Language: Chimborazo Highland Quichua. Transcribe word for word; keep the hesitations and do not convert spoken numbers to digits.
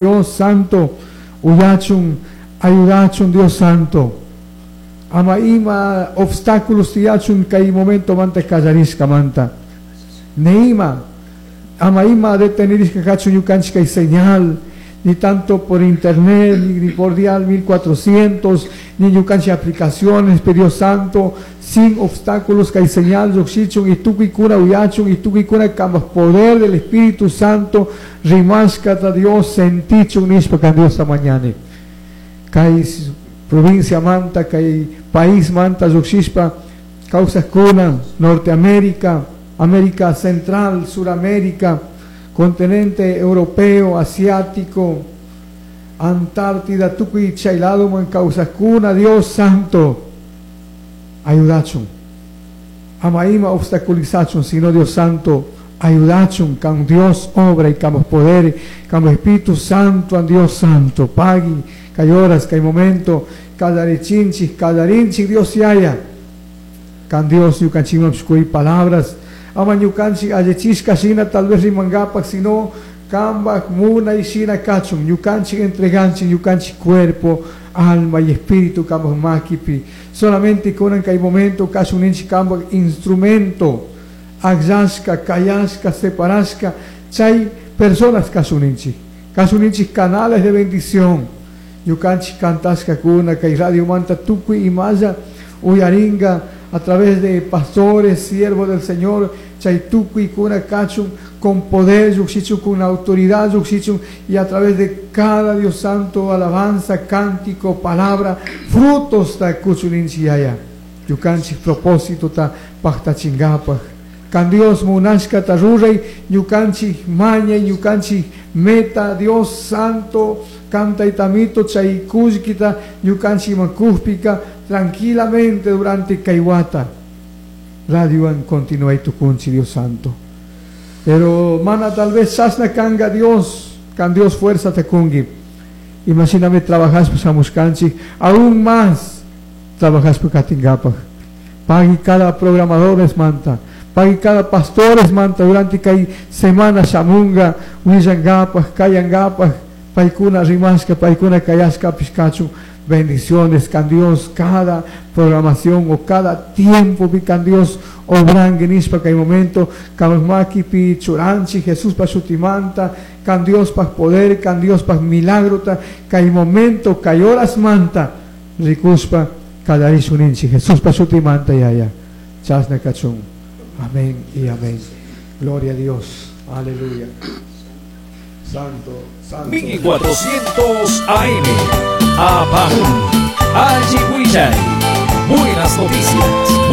Dios Santo, uyachun, ayudachun Dios Santo. Ama ima obstáculos tiyachun kay momento manta kallarishka manta. Neima, ama ima detenirishka kachun ñukanchik kay señal, ni tanto por internet, ni, ni por dial mil cuatrocientos, ni ñukanchik aplicaciones, pero Dios Santo, sin obstáculos kay señal llukshichun y tukuykuna uyachun y tukuykuna kambaj poder del Espíritu Santo rimashkata Dios sentichun nishpa kan Dios mañani. Kay provincia manta, kay país manta llukshishpa kawsakuna, Norteamérica, América Central, Suramérica, continente europeo, asiático, Antártida, tukuy chay ladoman kawsakuna, Dios Santo, ayudachun. Ama ima obstaculizachun, sino Dios Santo, ayudachun, kan Dios obra y kan poder, kan Espíritu Santo, an Dios Santo, pagui, kay horas, kay momento, kallarichinchik, kallarinchik, Dios yaya, kan Dios ñukanchikman pishkuy palabras, ama ñukanchik allichishka shina tal vez rimangapak, sino kambaj munay shina kachun, ñukanchik entreganchik, ñukanchik cuerpo, alma y espíritu kambaj makipi. Solamente kunan kay momento kachun ninchik kambaj instrumento, akllashka, kayashka, separashka, chay personas kachun ninchik, kachun ninchik canales de bendición. Ñukanchik kantashka kuna kay radio manta tukuy imalla uyaringa a través de pastores, siervos del Señor, chay tukuy kuna kachun con poder, yuxichun con autoridad, yuxichun, y a través de cada Dios Santo, alabanza, cántico, palabra, frutos ta kuchuninchi yaya. Ñukanchik propósito ta paktachingapaj. Kan Dios munashka ta ruray, ñukanchik maña, ñukanchik meta, Dios Santo, canta y tamito, chay kullkita, ñukanchik makujpika, tranquilamente durante kaiwata. Radio en continúa y tu kunchi, Dios Santo. Pero mana tal vez sasna kanga Dios, kan Dios fuerza te kungi. Imagíname trabajas pues amuskanchi, aún más trabajas por katingapaj. Pagui cada programador es manta, pagui cada pastor es manta durante kay semana shamunga, willangapaj, kayangapaj, paikuna rimaska, paikuna kayaska pishkachu. Bendiciones, can Dios, cada programación o cada tiempo, can Dios, obrangue nishpa kay momento, kamaki pi churanchi, Jesús pa shutimanta, can Dios pa poder, can Dios pa milagro, ta, kay momento, kay horas manta, rikuspa, kallarishuninchi, Jesús pa shutimanta yaya, chasna kachun. Amén y amén. Gloria a Dios. Aleluya. Santo, santo. mil cuatrocientos A M. Apajún, Allihuillay. Buenas noticias.